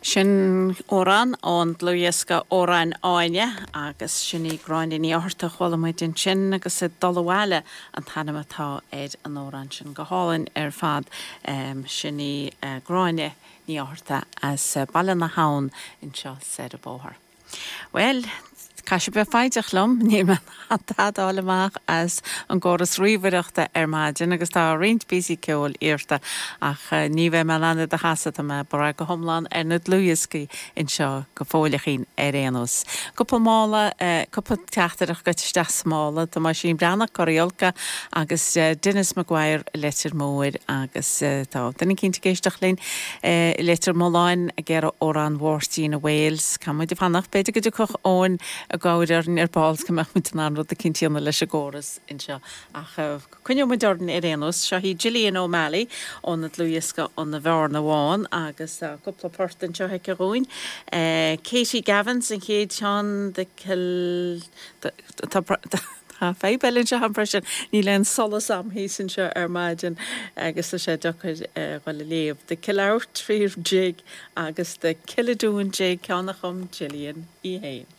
Sin amhrán ón dlúthdhiosca Amhráin Áine agus sin í Gráinne Ní Fhátharta a chuala muid ansin agus Ag Dul Abhaile an t-ainm atá ar an amhrán sin. Go hálainn ar fad. Sin í Gráinne Ní Fhátharta as Baile na hAbhann anseo soir an bóthar. Bhuel, caithfidh sibh bheith foighdeach liom, níl mé in ann tada a fháil amach as an gcóras ríomhaireachta ar maidin agus tá roinnt píosaí ceoil iarrta ach ní bheidh mé in ann iad a chasadh, tá mé ag brath go hiomlán ar na dlúthdhioscaí anseo go fóilleachín ar aon nós. Cúpla mála, cúpla teachtaireacht gaibhte isteach sa mála, tá Oisín Breathnach, Curaí Olca agus Denis Maguire, Leitir Móir agus tá duine eicínt ag éisteacht linn. I Leitir Mealláin ag iarraidh amhrán Mháirtín i Wales. Caithfidh muid fanacht. B'fhéidir go dtiocfadh Eoin i gcabhair orainn ar ball go mbeadh muid in ann rud eicínt a dhéanamh leis an gcóras anseo. Ach coinneoidh muid orainn ar aon nós. Seo í Gillian O'Malley óna dlúthdhiosca An Bhearna Bhán agus tá cúpla port anseo aici dhúinn. Katie Gavins an chéad cheann, The Kill. Tá fadhb eile anseo agam freisin, níl aon solas a'm thíos anseo ar maidin agus tá sé deacair a dhul a léamh. The Killowtree Jig agus The Killadoon Jig, ceann a chum Gillian í fhéin.